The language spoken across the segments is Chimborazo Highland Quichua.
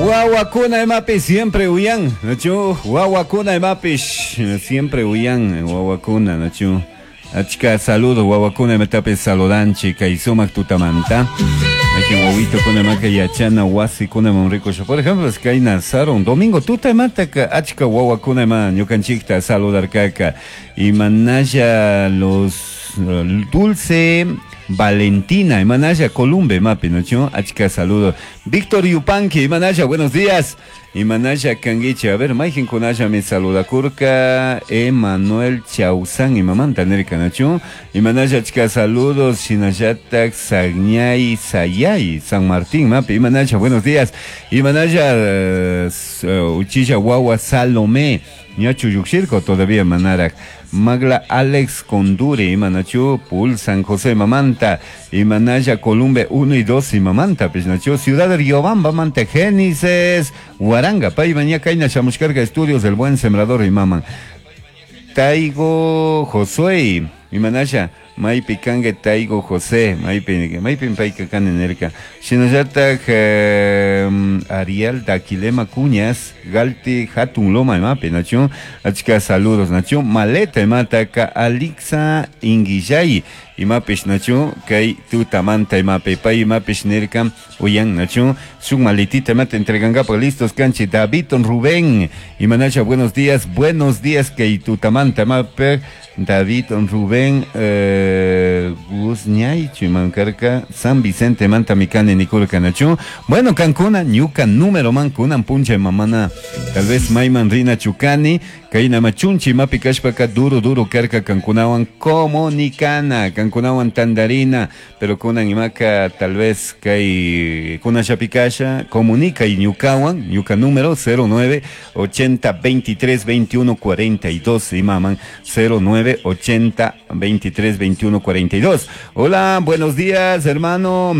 Wawakuna imapi siempre uyan, nachu? Wawakuna imapish siempre uyan, wawakuna, nachu? Achka saludo wawakuna imatapis saludanchik kay sumak tutamanta. Mayqin wawitukuna imaka yachana wasikunaman rikusha. Por ejemplo, kayna sarun domingo tuta imataka achka wawakuna ima ñukanchikta saludarkaka. Imanalla los Dulce Valentina, imanalla Columbe imapi, nachu? Achka saludo. Víctor Yupanqui, imanalla, buenos días. Imanalla kanguichi, a ver, mayqinkunallami saludakurka Emanuel Chausan imamanta nirka, nachu? Imanalla achka saludos, shinallatak Sagñay Sayay, San Martín mapi, imanalla, buenos días. Imanalla uchilla wawa Salomé, ñachu llukshirka todavía manarak. Magla Alex Condure, imanachu, Pul San José mamanta, imanalla Columbe 1 y 2 imamanta, pisnachu, Ciudad de Riobamba, manta Génesis, Huaranga, pay maña kayna shamushkarka estudios del buen sembrador imaman. Taigo Josué, imanalla, maypi kanka Taigo José, maypi, maypi payka kani nirka. Shinallatak Ariel Daquilema Cuñas, Galti Hatun Loma imapi, nachu, achka saludos, nachu, Maleta imataka Alixa Inguillay, imapish nachu, kay tutamanta imapi, pay imapish nirka, uyan nachu, shuk maletita imata entregankapaj listos kanchik, David Rubén, imanacha, buenos días, kay tutamanta imapi, David Rubén Guzñay, Chimancarca, San Vicente, Manta Mikani, Nikurka, nachu. Bueno, kankuna, ñuka número man, kunan puncha mamana, tal vez mayman rina chukani, kayna machunchi mapi kashpaka duro duro karka kankunawan comunicana, kankunawan tandarina, pero kunan imaka tal vez kay kunan shapikasha, comunica y ñukawan, ñuka número 09 80 23 21 42, imaman 09 80 23 21 42. Hola, buenos días, hermano.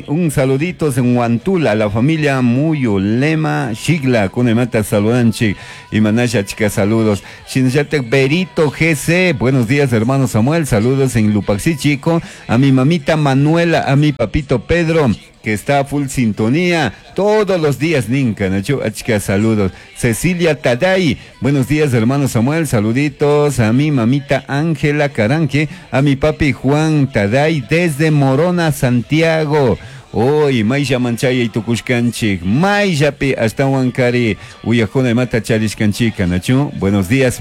Un saludito en Huantula, la familia Muyo Lema Shigla, kunemata saludanchi y manasha chica saludos. Shinyatek Berito GC, buenos días, hermano Samuel, saludos en Lupaxi Chico, a mi mamita Manuela, a mi papito Pedro, que está a full sintonía todos los días, Ninka, Nacho, achka, saludos. Cecilia Taday, buenos días, hermano Samuel, saluditos a mi mamita Ángela Caranque, a mi papi Juan Taday, desde Morona, Santiago. Hoy, Maylla Manchaya y Tucushkanchik, Mayllapi hasta Huancari, Uyajuna y Mata Charishkanchika, Nacho. Buenos días,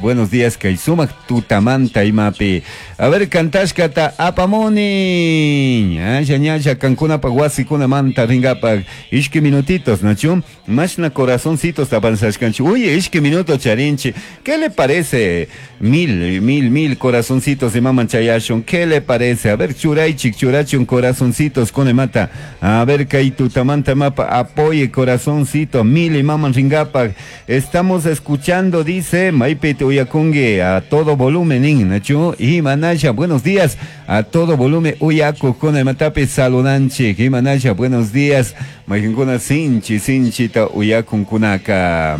Kaisumak Tutamanta y Mapi. A ver, Kantashkata Apamoni. Ñaya, ñaya, Cancuna Paguasi, Kuna Manta, Ringapa. Ishki minutitos, Nacho. Mashna corazoncitos tapanzashkanchi. Uy, ishki minuto charinchi. ¿Qué le parece? Mil corazoncitos de Maman Chayashon. ¿Qué le parece? A ver, churaichik, churachun corazoncitos con mata. A ver, Kaitu, Tamanta Mapa, apoye corazoncito, mil y maman ringapa. Estamos escuchando, dice Maipete Uyakungue, a todo volumen, Nacho y Manaya, buenos días, a todo volumen, Uyaku, con matape saludanche, y Manaya, buenos días, Majinkuna sinchi, sinchita, Uyakun kunaka.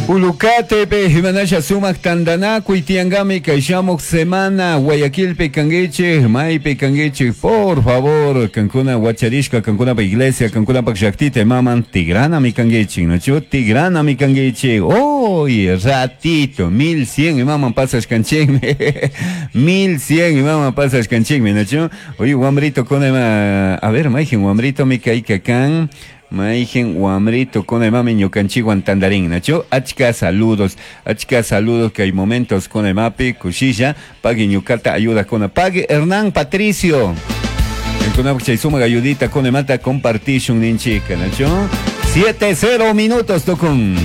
Ulucatepe, Jimanasha Sumac Tandanaku y Tiangami, Kaishamok Semana, Guayaquilpe, Cangueche, Maipe, Cangueche, por favor, Cancuna, Huacharishka, Cancuna, pa Iglesia, Cancuna, pa Llaktita, Maman, Tigrana, mi Cangueche, ¿no? Tigrana, mi Cangueche, hoy, ratito, 1100, maman, pasas canchingme, 1100, maman, pasas canchingme, ¿no? Oye, guambrito, con a ver, maijen, guambrito, mi caicacán. Maijen Guamrito con el mami ñukanchiwan tandarín, nacho, achka saludos que hay momentos con el mapi, cuchilla, pague ñucata, ayuda con pague Hernán Patricio. En suma ayudita con el mata compartition ninchica, nacho. 7-0 minutos tocun.